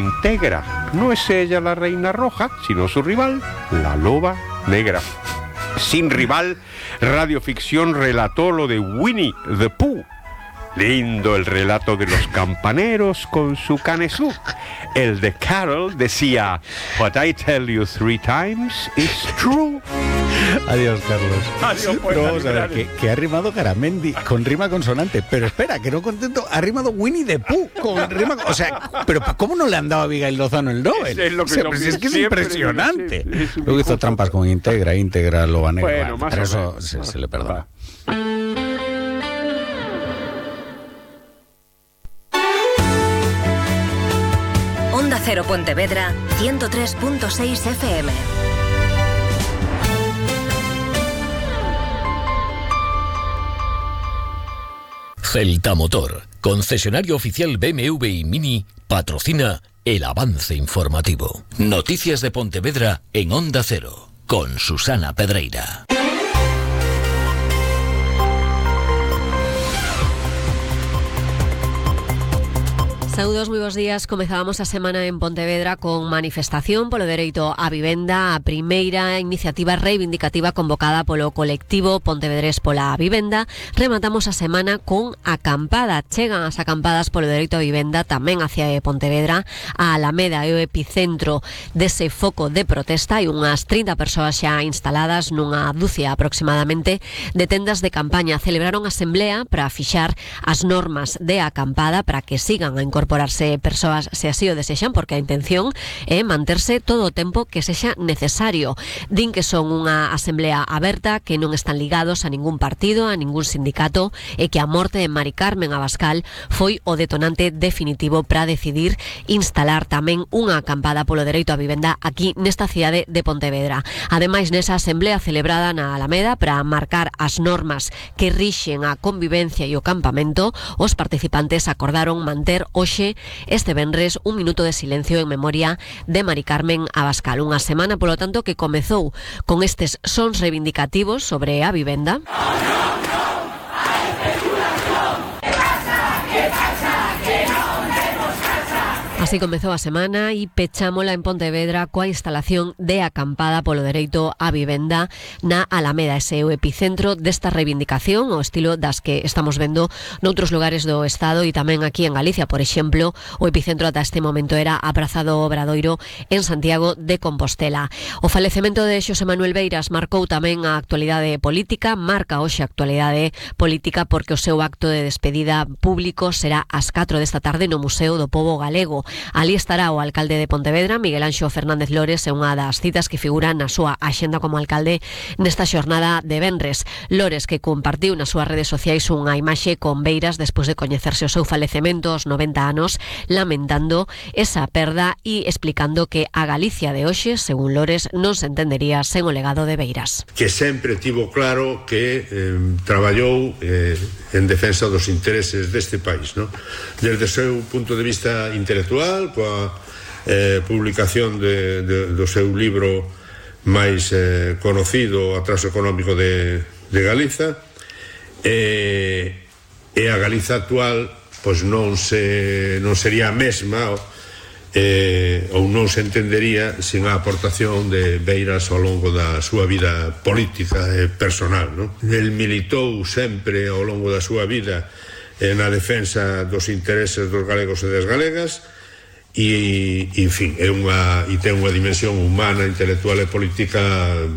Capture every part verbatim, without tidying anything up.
Integra. No es ella la reina roja, sino su rival, la loba negra. Sin rival, Radioficción relató lo de Winnie the Pooh. Lindo el relato de los campaneros con su canesú. El de Carol decía: What I tell you three times is true. Adiós, Carlos. Adiós, pues, pero vamos a ver, que, que ha rimado Garamendi con rima consonante. Pero espera, que no contento, ha rimado Winnie the Pooh con rima. O sea, pero ¿cómo no le han dado a Abigail Lozano el Nobel? Es, es lo que o sea, lo pues que es que es siempre, impresionante. Es, es Luego hizo trampas con Integra, Integra, Loba Negra. Bueno, más pero o eso menos. se, se le perdona. Onda Cero Pontevedra, ciento tres punto seis F M. Celta Motor, concesionario oficial B M W y Mini, patrocina el avance informativo. Noticias de Pontevedra en Onda Cero, con Susana Pedreira. Saúdos, moi bons días. Comezábamos a semana en Pontevedra con manifestación polo dereito á vivenda, a primeira iniciativa reivindicativa convocada polo colectivo Pontevedrés pola Vivenda. Rematamos a semana con acampada. Chegan as acampadas polo dereito á vivenda tamén hacia Pontevedra. A Alameda é o epicentro dese foco de protesta. Hai unhas trinta persoas xa instaladas nunha dúcia aproximadamente de tendas de campaña. Celebraron asemblea para fixar as normas de acampada para que sigan a incorporar incorporarse persoas se así o desexan, porque a intención é manterse todo o tempo que sexa necesario. Din que son unha asemblea aberta, que non están ligados a ningún partido, a ningún sindicato, e que a morte de Mari Carmen Abascal foi o detonante definitivo para decidir instalar tamén unha acampada polo dereito á vivenda aquí nesta cidade de Pontevedra. Ademais, nesa asemblea celebrada na Alameda para marcar as normas que rixen a convivencia e o campamento, os participantes acordaron manter hoxe este venres un minuto de silencio en memoria de Mari Carmen Abascal. Unha semana, polo tanto, que comezou con estes sons reivindicativos sobre a vivenda. Así comezou a semana e pechámola en Pontevedra coa instalación de acampada polo dereito á vivenda na Alameda. Ese é o epicentro desta reivindicación, o estilo das que estamos vendo noutros lugares do Estado e tamén aquí en Galicia. Por exemplo, o epicentro ata este momento era a Praza do Obradoiro en Santiago de Compostela. O falecemento de Xosé Manuel Beiras marcou tamén a actualidade política, marca hoxe a actualidade política porque o seu acto de despedida público será ás catro desta tarde no Museo do Pobo Galego. Ali estará o alcalde de Pontevedra, Miguel Anxo Fernández Lores, é unha das citas que figuran na súa axenda como alcalde nesta xornada de venres. Lores, que compartiu nas súas redes sociais unha imaxe con Beiras despois de coñecerse o seu falecemento aos noventa anos, lamentando esa perda e explicando que a Galicia de hoxe, según Lores, non se entendería sen o legado de Beiras. Que sempre tivo claro que eh, traballou eh, en defensa dos intereses deste país, ¿no? Desde o seu punto de vista intelectual, coa eh, publicación de, de, do seu libro máis eh, conocido, Atraso Económico de, de Galiza, e, e a Galiza actual pois non se non sería a mesma eh, ou non se entendería sin a aportación de Beiras ao longo da súa vida política e personal, ¿no? El militou sempre ao longo da súa vida eh, na defensa dos intereses dos galegos e das galegas. E, en fin, é unha, e ten unha dimensión humana, intelectual e política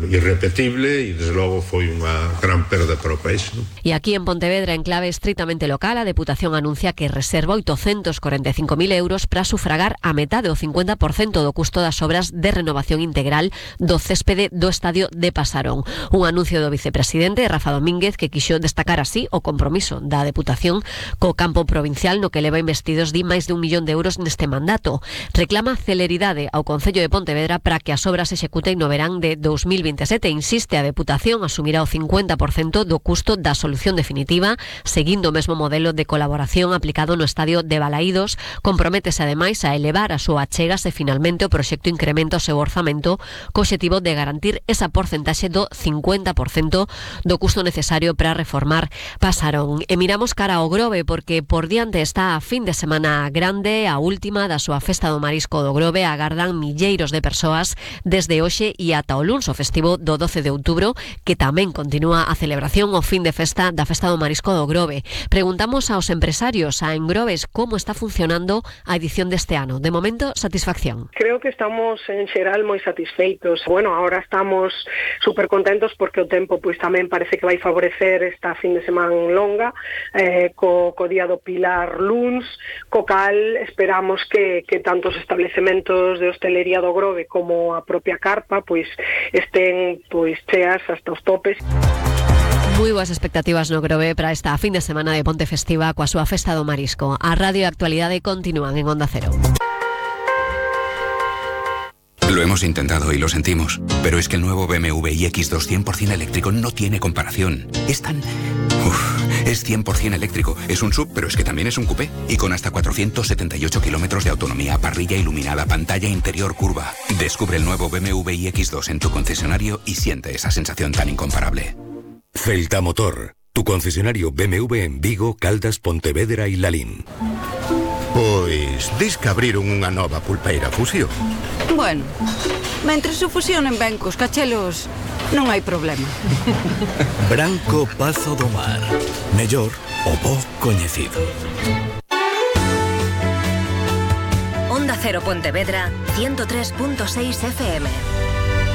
irrepetible e, desde logo, foi unha gran perda para o país, non? E aquí en Pontevedra, en clave estritamente local, a Deputación anuncia que reserva oitocentos corenta e cinco mil euros para sufragar a metade, o cincuenta por cento do custo das obras de renovación integral do céspede do estadio de Pasarón. Un anuncio do vicepresidente Rafa Domínguez que quixo destacar así o compromiso da Deputación co campo provincial no que leva investidos de máis de un millón de euros neste mandato. Reclama celeridade ao Concello de Pontevedra para que as obras se executen no verán de dos mil veintisiete. Insiste, a Deputación asumirá o cincuenta por cento do custo da solución definitiva, seguindo o mesmo modelo de colaboración aplicado no estadio de Balaídos. Comprométese ademais a elevar a súa achega se finalmente o proxecto incrementa o seu orzamento co obxectivo de garantir esa porcentaxe do cincuenta por cento do custo necesario para reformar Pasarón. E miramos cara ao Grove porque por diante está a fin de semana grande, a última das súa festa do marisco do Grove agardan milleiros de persoas desde hoxe e ata o luns, o festivo do doce de outubro, que tamén continúa a celebración o fin de festa da festa do marisco do Grove. Preguntamos aos empresarios, a Engrobes, como está funcionando a edición deste ano. De momento, satisfacción. Creo que estamos en xeral moi satisfeitos. Bueno, ahora estamos super contentos porque o tempo pois tamén parece que vai favorecer esta fin de semana longa, eh, co, co día do Pilar luns, co cal esperamos que, que tanto os establecementos de hostelería do Grove como a propia carpa pois estén pois cheas hasta os topes. Moi boas expectativas no Grove para esta fin de semana de Ponte Festiva coa súa festa do marisco. A radio e a actualidade continúan en Onda Cero. Lo hemos intentado y lo sentimos, pero es que el nuevo B M W iX dos cien por ciento eléctrico no tiene comparación. Es tan... Uf, es cien por ciento eléctrico. Es un sub, pero es que también es un coupé. Y con hasta cuatrocientos setenta y ocho kilómetros de autonomía, parrilla iluminada, pantalla interior curva. Descubre el nuevo B M W iX dos en tu concesionario y siente esa sensación tan incomparable. Celta Motor, tu concesionario B M W en Vigo, Caldas, Pontevedra e Lalín. Pois, dis que abriron unha nova pulpeira Fusión. Bueno, mentres o fusionen ben cos cachelos, non hai problema. Branco Pazo do Mar. Mellor o bo coñecido. Onda Cero Pontevedra, ciento tres punto seis F M.